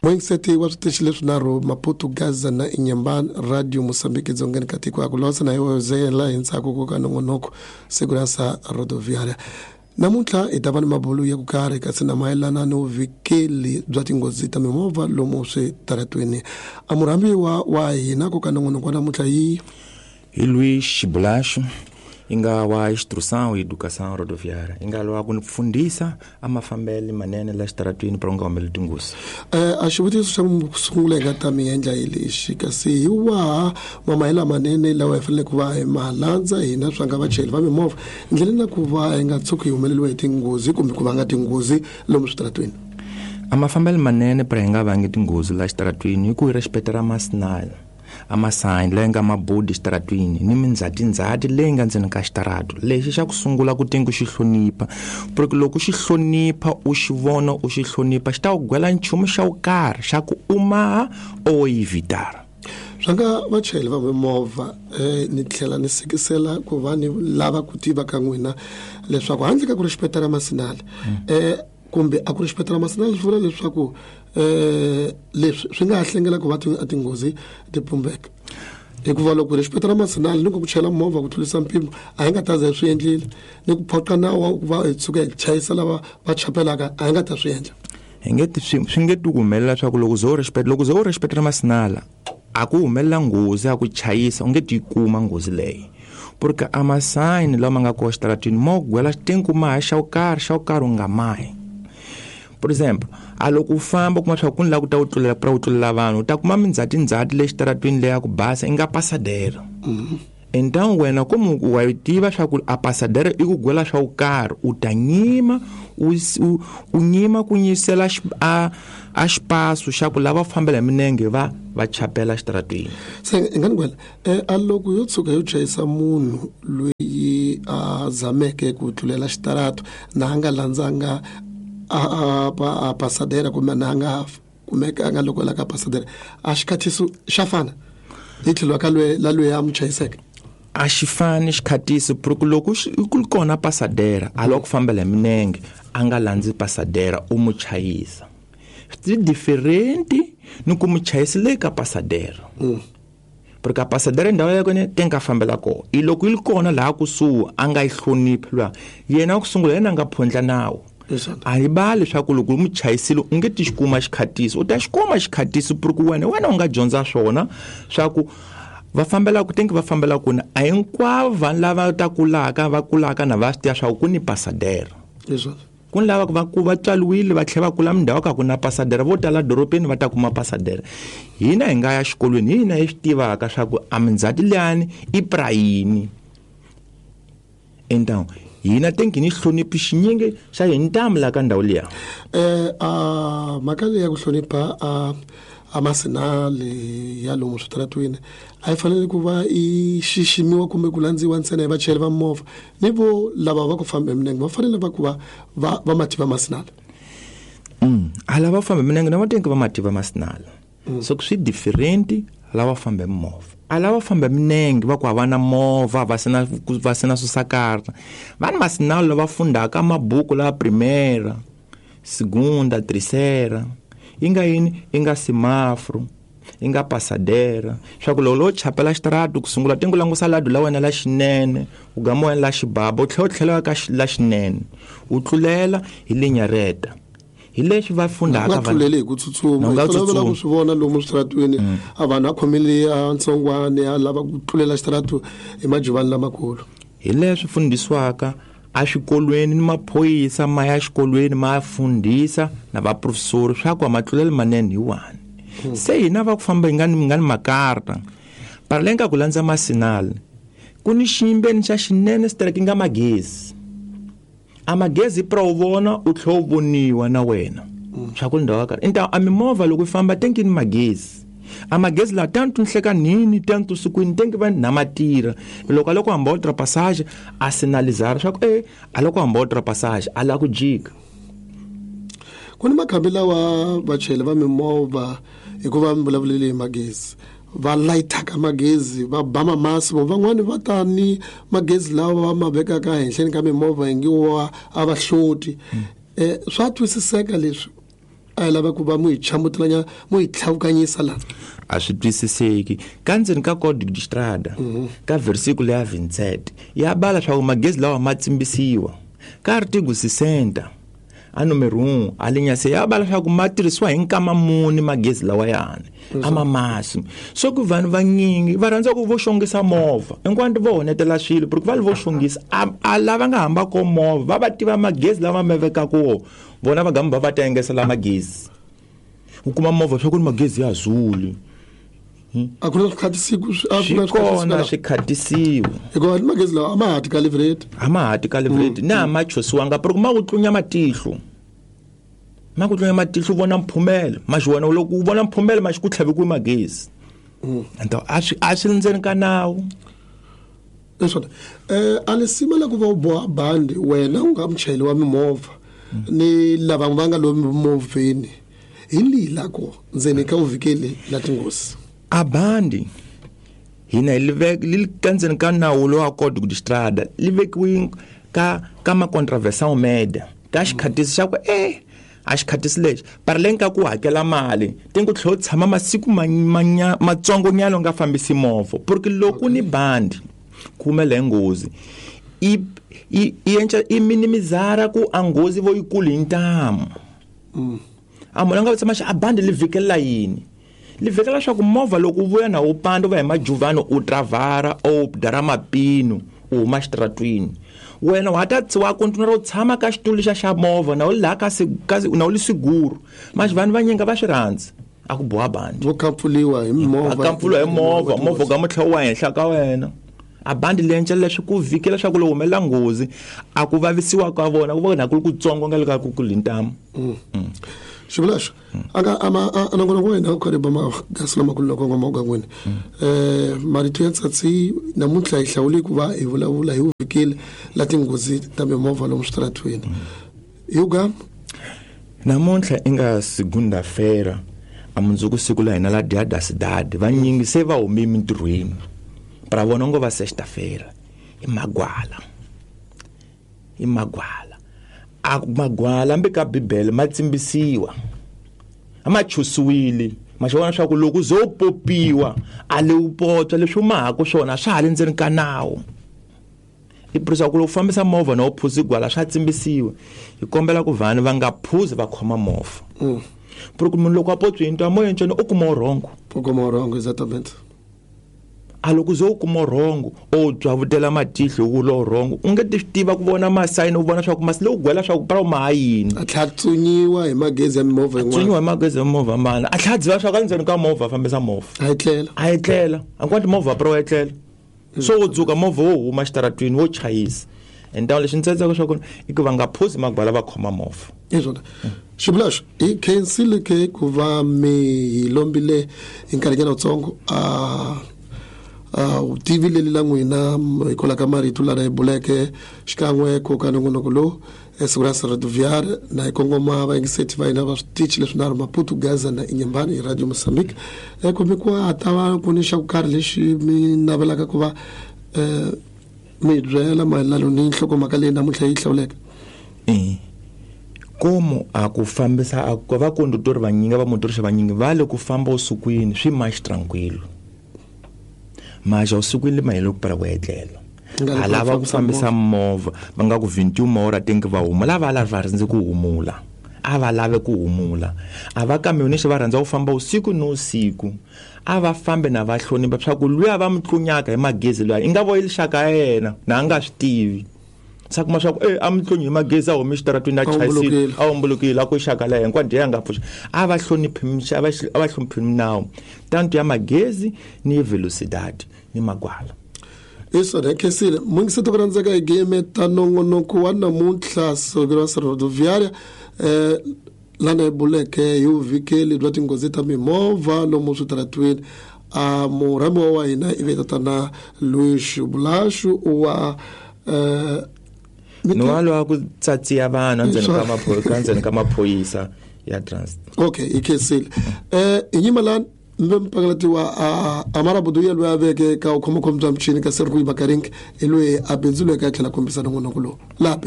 Muingiseti wa switichi leswinharhu Maputo, Gaza na Inhambane, Radio Moçambique dzongeni ka tiko aku losa na iwe zela hi ntsako ku ka nongonoko Segurança Rodoviária. Namuntlha hi ta va ni mabulu ya ku karhi kasi na mayelana ni vuvikeli bya tinghozi ta mimovha lomu switaratweni. A murhambiwa wa hina ku ka nongonoko wa namuntlha yi hi Luís Xibulaxo yi nga wa Instrução e Educação Rodoviária yi nga lwa ku ni fundisa a mafambele manene la xitaratwini para u nga humeleli tinghozi. A xivutiso xa ku sungula hi nga ta mi endla hi lexi kasi hi waha mamahela manene lawa hi fanele ku va hi ma landza hina swa nga vachayeri va mimovha ndleleni na ku va hi nga tshuki hi humeleriwa hi tinghozi kumbe ku vanga tinghozi lomu switaratwini? A mafambelo manene para hi nga vangi tinghozi la xitaratwini hi ku hi respectera masinala a masayini leyi nga mabodi xitaratwini ni mindzhatindzhati leyi nga ndzeni ka xitaratu. Lexi xa ku sungula ku tengi xi hlonipha, porque loko xi hlonipha u xi vona u xi hlonipha xi ta ku gwela nchumu xa ku karhi xa ku u maha o evitara. Swa nga vachayeri va mimovha ni tlhela ni sekisela ku va ni lava ku tiva ka n'wina leswaku handle ka ku respectera masinala kumbe a ku respectera masinala swi vula leswaku leswi swi nga ha hlengela ku va tinghozi ti pumbeka, hikuva loko respectera masinala ni ku ku chayela movha ku tlurisa mpimo a hi nga ta za hi swi endlile, ni ku phoqa nawu wa ku va hi tshuka hi chayisa lava va chapelaka a hi nga ta swi endla. Hi nge ti swi nge ti ku humelela leswaku loko ze u respect, loko ze u respectera masinala a ku humelela nghozi ya ku chayisa u nge ti kuma nghozi leyi, porque a masayini lama nga kona xitaratwini mo gwela xitinku maha xa ku karhi xa ku karhi u nga mahi. Por exemple, a loko u famba u kuma swa ku ni lava ku ta u tlulela pra u tlulela vanhu u ta kuma mindzhatindzhati le xitaratwini leya ku basa i nga pasadera. Então wena como wa yi tiva swa ku a pasadera i ku gwela swa ku karhi u ta nyima u nyima ku nyisela a xipaso xa ku lava fambela hi minenge va chapela xitaratwini. Se i nga ni gwela a loko yo tshuka yo chayisa munhu loyi a zameke ku tlulela xitarato na a nga landzanga a pasadera kumbe na a nga kumeka a nga loko la ka pasadera a xikhatiso xa fana hi tlhelo ka lwe la loyi a mu chayiseke? A xi fani xikhatiso porque loko ku ri kona pasadera a lava ku fambela hi minenge a nga landzi pasadera u mu chayisa swi different ni ku mu chayisa le ka pasadera. Porque a pasadera ndhawu ya kona te nga fambela kona i loko yi ri kona laha kusuhi a nga yi hloniphi luya yena ku sungula yena a nga phondla nawu. A yi bali leswaku loko u mu chayisile u nge ti xi kuma xikhatiso, u ta xi kuma xikhatiso porque wena u nga dyondza swona swa ku va fambela ku tengi va fambela kona a hinkwavo vanhu lava ta kulaka va kulaka na va swi tiva swa ku ku ni pasadera. Ku ni lava va ku va tswariwile va tlhela va kula mindhawu ka ku na pasadera vo tala dorobeni va ta kuma pasadera. Hina hi nga ya xikolweni hina hi swi tivaka swa ku a mindzhati liyani i prayini. Então hina tengi ni hloniphi xinyingi xa hi ntamu la ka ndhawu liya. A mhaka leyi ya ku hlonipha a masinali ya lomu switaratwini a yi fanele ku va yi xiximiwa kumbe ku landziwa ntsena hi vachayeri va movha ni vo lava va ku famba hi minenge va fanele va ku va mativa masinala. A lava famba hi minenge na va tengi va mativa masinala. So swi different lava famba hi movha. A lava famba hi minenge va ku a va na movha va sina va sina swisakarha. Va ni masinala lava fundaka mabuku la primera, segunda, terceira. Yi nga yini? Yi nga semaforo, yi nga pasadera. Swa ku loko lo chapela xitaratu ku sungula tingu langusa ladu la wena la xinene, u gama wena la xibaba, u tlhela u tlhela ka la xinene, u tlulela hi linyareta. Hi leswi va fundaka Va vanhu. tlulele hi ku tsutsuma. Na u nga Hi tolovela tsutsumi. ku swi vona lomu switaratwini, a vanhu a khomile a ntsongwana, a lava ku tlulela xitaratu hi majuvani lamakulu. Hi leswi fundisiwaka eswikolweni ni maphorisa ma ya xikolweni ma fundisa na vaprofesori swa ku a matlulelo manene hi wani. Se hina va ku famba hi nga ni, nga ni makarta. Para leyi nga ku landza masinala, ku ni xiyimbeni xa xinene strike nga magezi. A magezi pra u vona u tlhela u voniwa na wena. Swa ku ndhawu ya karhi. Então a mimovha loko yi famba tenki ni magezi. A magezi la tanto nhlekanini, tanto sikwini, tenki va na matira. Loko a loko hamba ultrapassage a sinalizara swa ku a loko hamba ultrapassage a la ku jika. Ku ni makhambi lawa vachayeri va mimovha hikuva mi vulavulele hi magezi va layitaka magezi va ba mamasi, vo van'wani va ta ni magezi lawa va ma vekaka ehenhleni ka mimovha hi ngi wa a va hloti. Swa twisiseka leswi? A hi lava ku va mu hi chamutelanya mu hi tlhavukanyisa laha. A swi twisiseki ka ndzeni ka Código de Estrada ka versículo ya 27 ya bala leswaku magezi lawa ma tsimbisiwa ka artigo 60 a numero 1 a linha C ya bala leswaku ma tirhisiwa hi nkama muni magezi lawa yani a ma masi. So ku vanhu vanyingi va rhandza ku vo xongisa movha hinkwato vo honetela swilo porque va li vo xongisa a lava nga hamba ko movha va tiva magezi lama ma vekaka wo vona va gamba va ta engesela magezi u kuma movha swa ku ni magezi ya zuli. A ku na swi kona swi khatisiwa hikuva ni magezi lawa a ma ha ti calibrate a ma ha ti calibrate na ma chosiwanga porque ma ku tlunya matihlo ma ku tlunya matihlo vona mphumelo ma xi vona loko u vona mphumelo ma xi ku tlhavikiwe magezi. Ento a swi ndzeni ka nawu. Leswona a li simela ku va u boha bandi wena u nga muchayeri wa mimovha ni lava va nga lomu movheni hi lila ko ndzeni ka uvhikeli la tinghozi. A bandi hina li ka ndzeni ka nawu lowa Código de Estrada li vekiwe ka ma contravenção média ka xikhatisi xa ku a xikhatisi lexi paraleng ka ku hakela mali ti ku tlhela u tshama masiku matsongonyana u nga fambisi movha porque loko ni bandi ku humela hi nghozi i i minimizara ku a nghozi vo yikulu hi ntamu. A munhu a nga tshama a bandi li vhikelela yini? Li vhikela leswaku movha loko u vuya na wu panda u va hi majuvani u travara o dara mapinu u huma xitaratwini wena wa ta wa kontinua u tshama ka xitulu xa movha na u laha ka na u li siguru manje vanhu vanyingi va swi rhandzi a ku boha bandi vo kampfuliwa hi movha a kampfuliwa hi movha movha ka mutlhelo wa henhla ka wena. A bandi leyi leswi ku vhikela leswaku loko humelela nghozi a ku vavisiwa ka vona ku va na ku ri kutsongo nga le ka ku ku ntamu. Xivulaxo anga ama a nongonoko wa hina u karhi ba magasi lamakulu loko ngoma ugangwini marito ya tsatsi namuntlha hi hlawule ku va hi vulavula hi vhikeli la tinghozi ta mimovha lomu switaratweni. Yuga namuntlha i nga segunda-feira a mundzuku siku la hina la Dia da Cidade vanyingi se va hume emintirhweni para vona ngo va sexta-feira i magwala a magwala mbe ka Bibele ma tsimbisiwa a ma chusiwile ma xi vona leswaku loko zo popiwa a le u potswa leswi u mahaku swona swa ha le ndzeni ka nawu. I purisa ku loko fambisa movha na u phuzi gwala swa tsimbisiwa hi kombela ku vanhu va nga phuzi va khoma movha porque munhu loko a potswi into a moya ntsena u kuma wrong u kuma wrong exatamente. A loko zo kuma wrong o byavutela matihlo ku lo wrong u nge ti tiva ku vona masayini u vona swa ku masi lowu gwela swa ku para ma yini a tlha tsunyiwa hi magezi ya mimovha yin'wana tsunyiwa hi magezi ya mimovha mana a tlha dziva swa ka ndzeni ka movha fambisa movha a yi tlela a kwati movha pro yi tlela so wo dzuka movha wo huma xitaratwini wo chayisa and lexi ndzi tsatsaka swa kona i ku va nga phuzi magwala va khoma movha. Iswona xivulaxo hi khensile ke ku va mi hi lombile hi nkarhinyana wutsongo a vutivi leli la n'wina hikwalaho ka marito lana hi buleke xikan'we ko ka nongonoko lowu Segurança Rodoviária na hi kongoma vayingiseti va hina va switichi leswinharhu Maputo, Gaza na Inhambane hi Radio Mozambique. Kumbe ku ha ta va ku ni xa ku karhi lexi mi navelaka ku va mi byela mayelana ni nhlokomhaka leyi namuntlha yi hlawuleka. Como a ku fambisa a ku va condutor vanyingi va motorista vanyingi va le ku famba usukwini swi mais tranquilo mas usukwini mahelo ku para ku etlela a lava ku fambisa movha va nga ku 21 hora tenke va humula va lava rhandza ku humula a va lave ku humula a va kamionista va rhandza ku famba usiku no usiku a va fambe na va hlonipha swa ku luya va mutlunyaka hi magezi luya i nga vo xaka yena na a nga swi tivi sa kuma swa ku a mutlunyi hi magezi a humi xitaratwini a chayisile a hombolokile a ku xaka la hinkwayo ya nga pfuxa a va hloniphi a va hloniphi minawu tanto ya magezi ni velocidade ni magwala. Isona khensile mungiseti ku rhandzeka hi game ta nongonoko wa namuntlha Segurança Rodoviária lana hi buleke hi vuvhikeli bya tinghozi ta mimovha lomu switaratwini. A murhambiwa wa hina i ve tatana Luís Bulaxo wa no wa ku tsatsiya vanhu endzeni ka maphorisa ya transit. Okay, i khensile. Hi nyima lani mbe mpakalatiwa Amara Buduya loyi a veke ka vukhomakhoma bya michini ka Sergei Bakarinki hi loyi a bindzuleke a tlhela kombisa nongonoko lowu laha.